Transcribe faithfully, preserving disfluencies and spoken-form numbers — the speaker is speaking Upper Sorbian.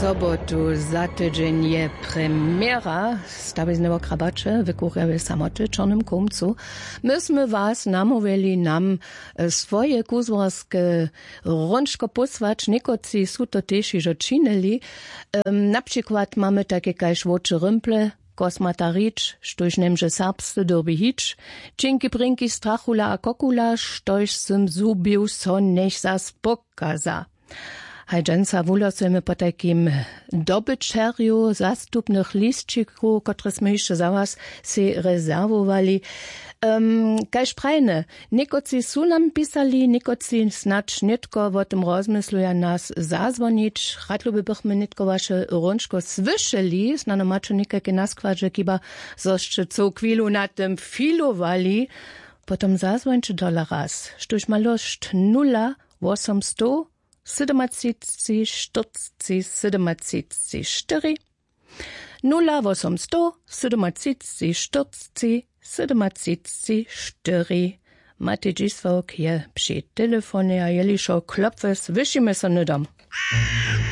Sobotu za tydźeń je premjera stawizneho krabaće w kurjawje samoty w čornym kołmcu. My smy was namołwjeli nam swoje kuzłarske hrónčko pósłać někotři su to tež hižo činili. Na přikład mamy tajke kaž wowče rymple, kosmata hrić štóž njemže serbsce dyrbi hić, ćinki brinki strachula a kokula štóž sym zhubił so njech zas pokaza. Haj dźensa wuhlosujemy potajkim dobyćerju zastupnych lisćikow kotrež smy hišće za was sej rezerwowali. Kaž prajene, někotři su nam pisali někotři snadź nětko wo tym rozmysluja nas zazwonić. Radluby bychmy nětko waše hrónčko słyšeli snano maće někajke naskładźe kiba, zo sće cołk chwilu na tym filowali. Potom zazwońće tola raz štóž ma lóšt nula wosomstow sydomatřicci štyrcci sydomatřicci štyri. Nula wosomstow sydomatřicci štyrcci sydomatřicci štyri. Matej dźisławk je při telefonje a jelišo klopwes wyšimy so hnydom.